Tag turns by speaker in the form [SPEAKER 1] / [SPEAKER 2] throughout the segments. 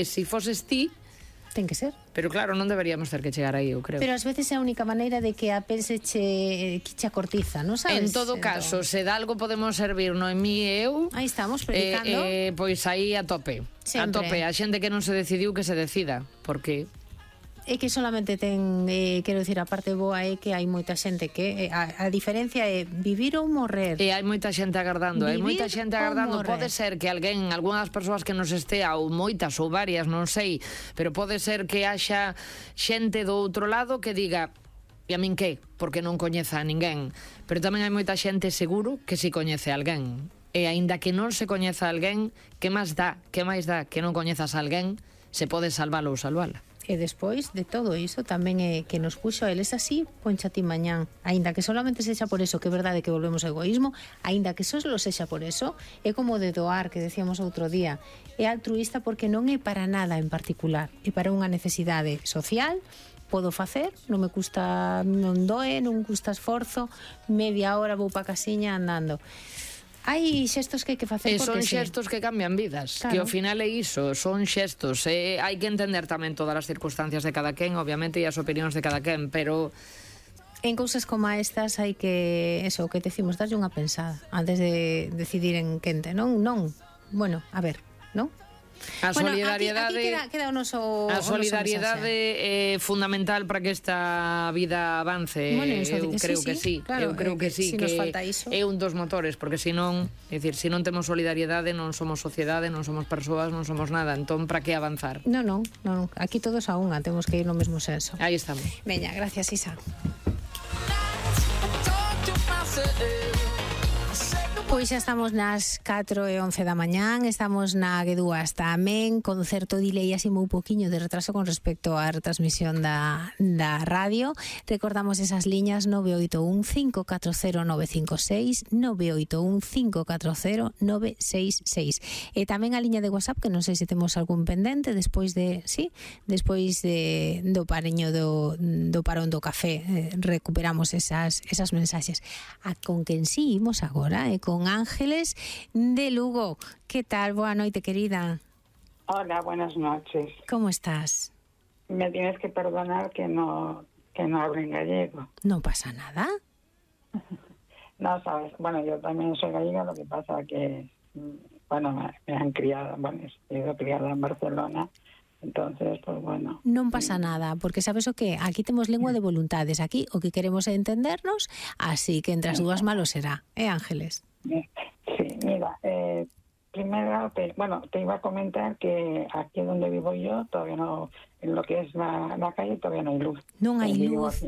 [SPEAKER 1] se foses ti,
[SPEAKER 2] ten que ser.
[SPEAKER 1] pero claro, non deberíamos ter que chegar aí, eu creo.
[SPEAKER 2] Pero ás veces é a única maneira de que a pense che cortiza, non sabes?
[SPEAKER 1] En todo caso, se de algo podemos servir Noemí e eu,
[SPEAKER 2] aí estamos predicando,
[SPEAKER 1] pois aí a tope.
[SPEAKER 2] Sempre.
[SPEAKER 1] A tope, a xente que non se decidiu que se decida, porque
[SPEAKER 2] é que solamente ten, quero dicir, a parte boa é que hai moita xente que a diferencia é vivir ou morrer.
[SPEAKER 1] E hai moita xente agardando, hai moita
[SPEAKER 2] Vivir
[SPEAKER 1] xente
[SPEAKER 2] ou
[SPEAKER 1] agardando.
[SPEAKER 2] morrer.
[SPEAKER 1] Pode ser que alguén, algunhas persoas que nos estea, ou moitas ou varias, non sei, pero pode ser que haxa xente do outro lado que diga: e a min que? Porque non coñeza a ninguén. Pero tamén hai moita xente seguro que si coñece a alguén. E aínda que non se coñeza a alguén, que máis dá que non coñezas a alguén, se pode salvalo ou salvala.
[SPEAKER 2] E despois de todo iso tamén é que nos puxo a eles así, poncha ti mañán, aínda que solamente sexa por eso, que é verdade que volvemos ao egoísmo, aínda que só sexa por eso, é como de doar, que decíamos outro día, é altruísta porque non é para nada en particular, é para unha necesidade social. Podo facer, non me custa, non doe, non custa esforzo, media hora vou pa casiña andando. Hai xestos que hai que facer porque
[SPEAKER 1] son xestos que cambian vidas, claro. Que ao final é iso, son xestos, hai que entender tamén todas as circunstancias de cada quen, obviamente, e as opinións de cada quen, pero
[SPEAKER 2] en cousas como estas hai que, eso, que decimos, darlle unha pensada antes de decidir en quente, non? Bueno, a ver, non?
[SPEAKER 1] A solidariedade,
[SPEAKER 2] aquí queda o noso
[SPEAKER 1] solidariedade é fundamental para que esta vida avance.
[SPEAKER 2] Bueno,
[SPEAKER 1] eu creo que sí, claro, eu creo que sí,
[SPEAKER 2] si
[SPEAKER 1] que
[SPEAKER 2] nos falta iso,
[SPEAKER 1] é un dos motores, porque senón, é dicir, se non temos solidariedade, non somos sociedade, non somos persoas, non somos nada, entón para que avanzar?
[SPEAKER 2] Non, aquí todos a unha, temos que ir no mesmo senso.
[SPEAKER 1] Aí estamos.
[SPEAKER 2] Veña, gracias, Isa. Pois xa estamos nas 4:11 da mañán, estamos na G2 tamén, con certo delay, así moi poquinho de retraso con respecto á retransmisión da radio. Recordamos esas liñas 981 540 956, 981 540 966. E tamén a liña de WhatsApp, que non sei se temos algún pendente despois do pareño do parón do café, recuperamos esas mensaxes. Con quen si imos agora, con Ángeles de Lugo. ¿Qué tal? Boa noite, querida.
[SPEAKER 3] Hola, buenas noches.
[SPEAKER 2] ¿Cómo estás?
[SPEAKER 3] Me tienes que perdonar que no hablo en gallego.
[SPEAKER 2] No pasa nada.
[SPEAKER 3] No, sabes, bueno, yo también soy gallega, lo que pasa que, bueno, me han criado, bueno, he sido criada en Barcelona. Entonces, pues bueno.
[SPEAKER 2] Non pasa nada, porque sabes o que? Aquí temos lengua de voluntades. Aquí o que queremos é entendernos, así que entre as dúas malo será. Ángeles?
[SPEAKER 3] Sí, mira, primero, te iba a comentar que aquí donde vivo yo, todavía no, en lo que es la calle, todavía no hay luz.
[SPEAKER 2] Non hai luz.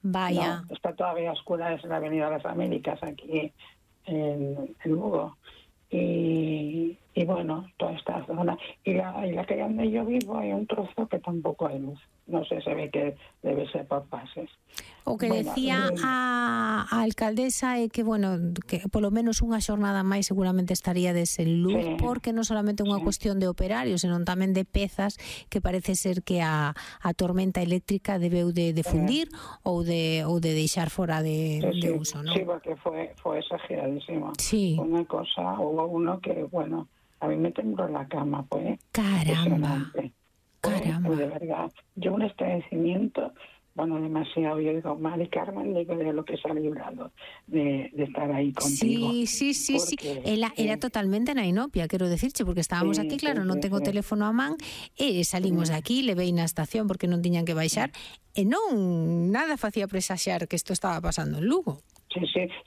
[SPEAKER 2] Vaya.
[SPEAKER 3] No, está todavía oscura, es la Avenida de las Américas, aquí en Lugo. Y bueno, toda esta zona y la calle donde yo vivo hay un trozo que tampoco hay luz, no sé, se ve que debe ser por fases.
[SPEAKER 2] O que decía a alcaldesa é que, bueno, que polo menos unha xornada máis seguramente estaría en luz, sí, porque non solamente unha cuestión de operarios, senón tamén de pezas que parece ser que a tormenta eléctrica debeu de fundir ou de deixar fora de uso, ¿no?
[SPEAKER 3] Sí, porque fue exageradísimo.
[SPEAKER 2] Sí.
[SPEAKER 3] Una cosa, hubo uno que, bueno, a mí me tembló la cama, pues.
[SPEAKER 2] Caramba.
[SPEAKER 3] De verdad. Yo un estremecimiento, bueno, demasiado. Yo digo, Mari Carmen, digo, de lo que se ha librado de estar ahí contigo.
[SPEAKER 2] Sí. Era totalmente na inopia, quero decirche, porque estábamos aquí, claro, non tengo teléfono a man, e salimos de aquí, levei na estación porque non tiñan que baixar, e non, nada facía presaxar que isto estaba pasando en Lugo.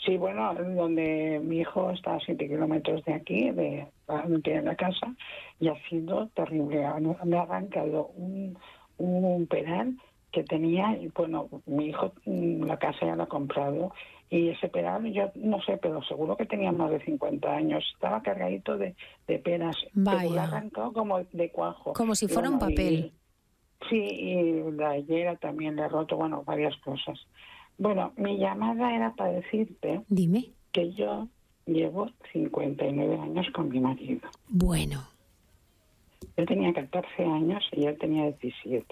[SPEAKER 3] Sí, bueno, donde mi hijo está a 7 kilómetros de aquí, de la casa, y ha sido terrible. Me ha arrancado un pedal que tenía, y bueno, mi hijo la casa ya la ha comprado, y ese pedal, yo no sé, pero seguro que tenía más de 50 años, estaba cargadito de penas, pero lo ha arrancado como de cuajo.
[SPEAKER 2] Como si fuera un papel.
[SPEAKER 3] Sí, y la higuera también le ha roto, bueno, varias cosas. Bueno, mi llamada era para decirte,
[SPEAKER 2] dime,
[SPEAKER 3] que yo llevo 59 años con mi marido.
[SPEAKER 2] Bueno.
[SPEAKER 3] Yo tenía 14 años y él tenía 17.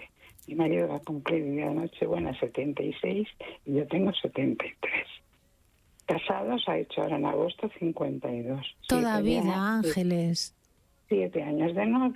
[SPEAKER 3] Mi marido va a cumplir el día de Nochebuena 76 y yo tengo 73. Casados ha hecho ahora en agosto 52.
[SPEAKER 2] Toda vida, Ángeles.
[SPEAKER 3] 7 años de novio.